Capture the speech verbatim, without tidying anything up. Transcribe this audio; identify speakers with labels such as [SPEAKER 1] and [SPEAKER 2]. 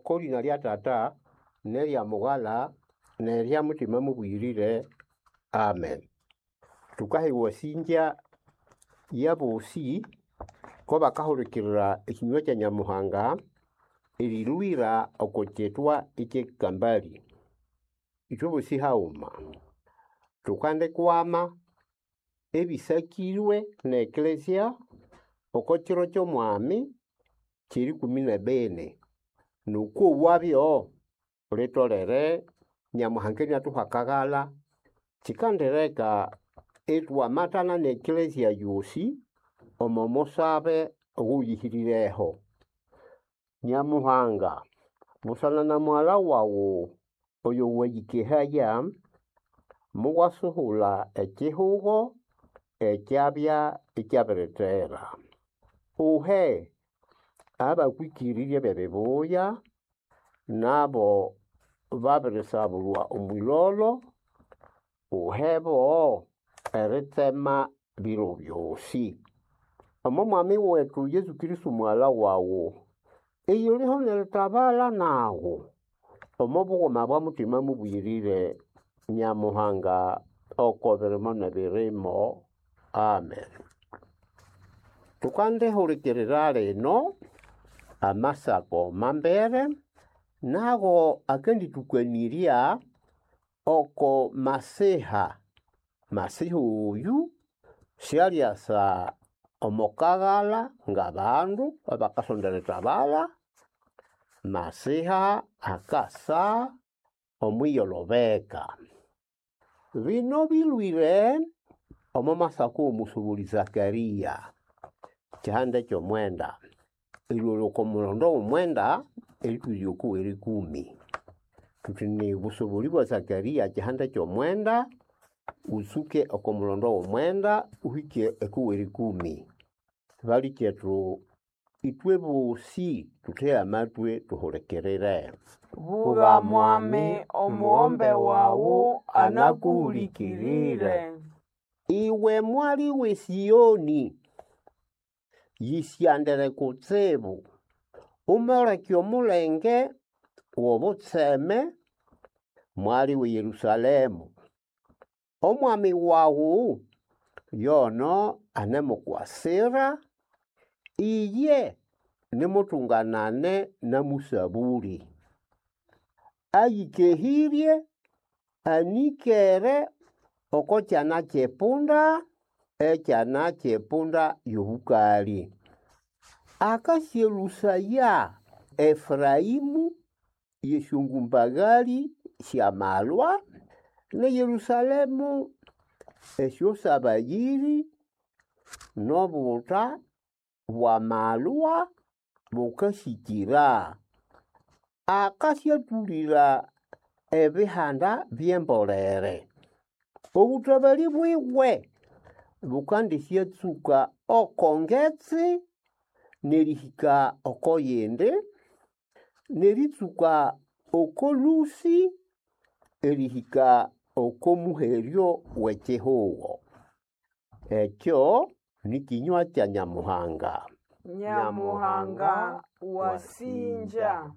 [SPEAKER 1] Oko lĩna lya Tata n'erya Mughala n'erya Mutima Mubuyirire. Amen. Tukaha ewasingya y'abosi ko bakahulikirira ekinywa kya Nyamuhanga erilwira oko kyetwa eky'ekambali. Ithwe bosi haghuma tukandikwama ebisakirwe n'ekelezia oko kiro ky'omwami ky'erikumi n'ebini. N'okwowabyo litolere Nyamuhanga iniathuha akaghalha kikandireka ithwamathana n'ekelezia yosi omo musabe owuyihirireho. Nyamuhanga, busana na mughalha waghu oyo wayikehaya, muwasuhula ekihugo ekyabya ikyabirithera. Uhe abakwĩkĩrĩrye b'ebibuya nabo babirisabulwa omwilolo, uhebo eritsema biro byosi. Omo Mwami wetu Yesu Kristo mughalha waghu, iyuliho n'eritabala naghu omo bughuma bwa Mutima Mubuyirire Nyamuhanga oko birimo n'ebirimo. Amen. Tukandihulikirira lino amasako mambere nago akandithukanirya oko Masiha. Masiha oyu syalyasa omo kaghalha ng'abandu abakasonda erithabalha. Masiha akasa omwiyolobeka. Bino bilwire omo masako w'omusubuli Zakaria, kihanda ky'omwenda, erilhwa oko mulondo w'omwenda eritwihya oko w'erikumi. Thuthi ni busubuli bwa Zakaria kihanda ky'omwenda, utsuke oko mulondo w'omwenda uhike oko w'erikumi. Balikethu ithwe bosi thutheghe amatwi thuhulikirire.
[SPEAKER 2] Buga Mwami, omughombe wawu anakuhulikirire.
[SPEAKER 1] Iwe mwali w'e Siyoni, yisyandire kutsibu, umoleke omulenge w'obutseme, mwali w'e Yerusalemu. Omwami waghu yono anemukwasira, iye nimutunganane na musabuli. Ayikehĩrye, anĩkere oko kyana ky'epunda, ekyana ky'epunda y'obũkalĩ. Akasyelũsaya Efuraĩmũ y'esyongumbagalĩ sy'amalwa, n'eYerusalemu esyosabayĩrĩ n'obuta bw'amalwa bukasĩkĩra. Akasyatũlĩra ebihanda by'embolere. Obũtabalĩ bwiwe bukandisyatsuka oko ngetsi n'erihika oko yindi, n'eritsuka oko lũsĩ erihika oko muheryo w'ekihugo. Ekyo ni kinywa kya Nyamuhanga.
[SPEAKER 2] Nyamuhanga wasinja.